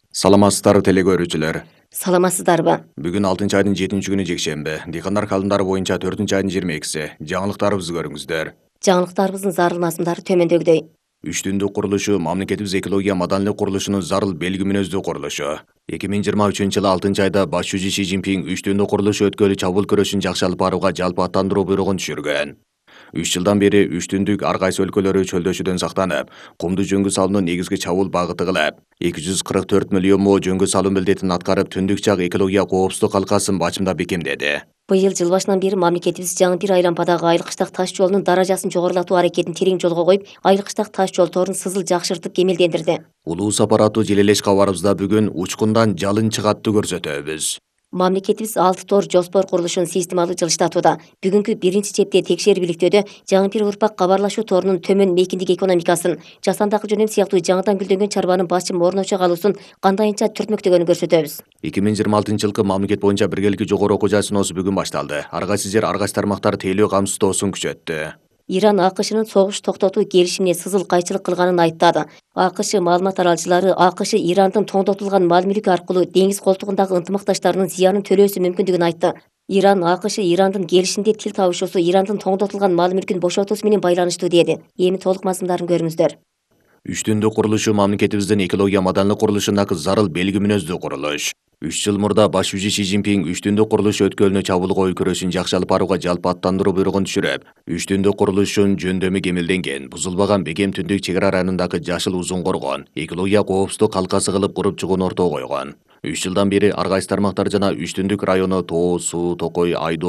Саламатсыздарбы теле көрүүчүлөр. Саламатсыздарбы? Бүгүн 6-айдын 7-күнү жекшемби. Дыйкандар калымдары боюнча 4-айдын 22-си. Жаңылыктарыбызды көрүңүздөр. Жаңылыктарыбыздын зарыл мазмундары төмөндөгүдөй. Үч түндүк курулушу маамлекетибиз экология маданийлик курулушунун зарыл белги мүнөздүү курулушу. 2023-жылы 6-айда баш жүзү Си Цзиньпин үч түндүк курулуш өткөлү чабуул күрөшүн жакшы алып барууга жалпы аттандыруу буйругун түшүргөн. 3 жылдан бери үч түндүк ар кайсы өлкөлөрү чөлдөшүүдөн сактанып, кумду жөнгө салуунун негизги чабуул багыты кылып, 244 миллион мо жөнгө салуу милдетин аткарып, түндүк чак экология коопсуздук калкасын бачымдап бекемдеди. Быйыл жыл башынан бери мамлекетибиз жаңы бир айлампадагы Айыл-Кыштак таш жолунун даражасын жогорулатуу аракетин терең жолго коюп, Айыл-Кыштак таш жол торун сызыл жакшыртып кемелдендирди. Улуу сапар аттуу желелеш кабарыбызда бүгүн учкундан жалын чыгаттуу көрсөтөбүз. Мамлекетибиз 6 тор жоспор курулушун системалуу жылыштатууда. Бүгүнкү биринчи чепте текшерип иликтөөдө жаңы бир урпак кабарлашуу торунун төмөн мейкиндик экономикасын, жасандак жөнөм сыяктуу жаңыдан гүлдөнгөн чарбанын басым орночо калуусун кандайынча түртмөктөгөнүн көрсөтөбүз. 2026-жылкы мамлекет боюнча биргеликти жогору окуу жай бүгүн башталды. Ар кайсы жер, ар кайсы тармактар тейлөө камсыздоосун күчөттү. Иран АКШнын согуш токтотуу келишимине сызыл кайчылык кылганын айыптады. АКШ маалымат таралчылары АКШ Ирандын тоңдотулган мал-мүлкү аркылуу деңиз колтугундагы ынтымакташтарынын зыянын төлөөсү мүмкүндүгүн айтты. Иран АКШ Ирандын келишимде тил табышуусу Ирандын тоңдотулган мал-мүлкүн бошотуусу менен байланыштуу деди. Эми толук мазмундарын көрүңүздөр. Үч түндүк курулушу маамлекетибиздин экология маданийлик курулушундагы зарыл белги мүнөздүү курулуш. 3 жыл мурда баш жүзү Си Цзиньпин үч түндүк курулуш өткөлүнө чабуул коюу күрөшүн жакшы алып барууга жалпы аттандыруу буйругун түшүрүп, 3 түндүк курулуштун жөндөмү кемелденген, бузулбаган Бегем түндүк чек ара районундагы Жашыл Узун коргон, экология коопсуздук калкасы кылып куруп чыгууну ортого койгон. 3 жылдан бери ар кайсы тармактар жана 3 түндүк району Тоо, Суу, Токой, Айдоо